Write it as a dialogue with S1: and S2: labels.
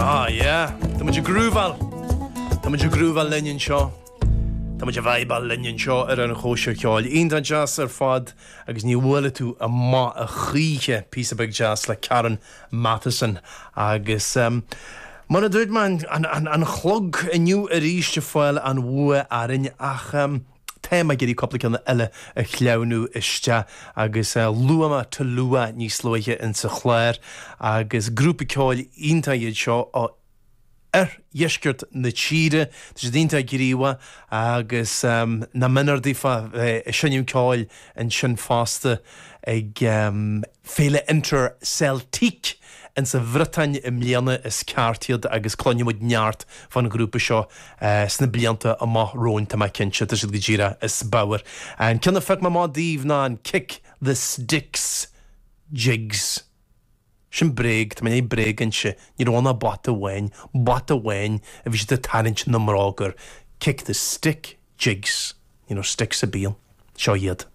S1: Ah yeah, tá muid ag grúbháil. Tá muid ag grúbháil linn anseo. Tá muid ag vibeáil linn anseo ar an Chóisir Cheoil. Iontach deas ar fad agus ní bhuailfidh tú amach a choíche, píosa beag deas le Karen Matheson agus mar a dúirt mé an clog inniu arís ag fáil an bhua orainn ach tá mé ag iarraidh cúpla ceann eile a shleamhnú isteach agus luaigh mé Tulua níos luaithe insa chlár agus grúpa ceoil iontach iad seo ó oirdheisceart na tíre. Tá siad iontach gníomhach agus nach méanar daofa bheith ag seinm ceoil ansin fosta ag Féile Inter Celtique insa Bhriotáin i mbliana is ceart iad agus cluinfidh muid neart fán ghrúpa seo sna blianta amach romhainn tá mé cinnte, tá siad go díreach as bodhar. An ceann a phioc mé amach daoibh ná an Kick the Sticks Jigs. Sin bréag, tá mé i ndiaidh bréag a inse, ní raibh ann ach bata amháin, bata amháin a bhí siad ag tarraingt na mbróg air. Kick the Stick Jigs, ní raibh sticks ar bith ann. Seo iad.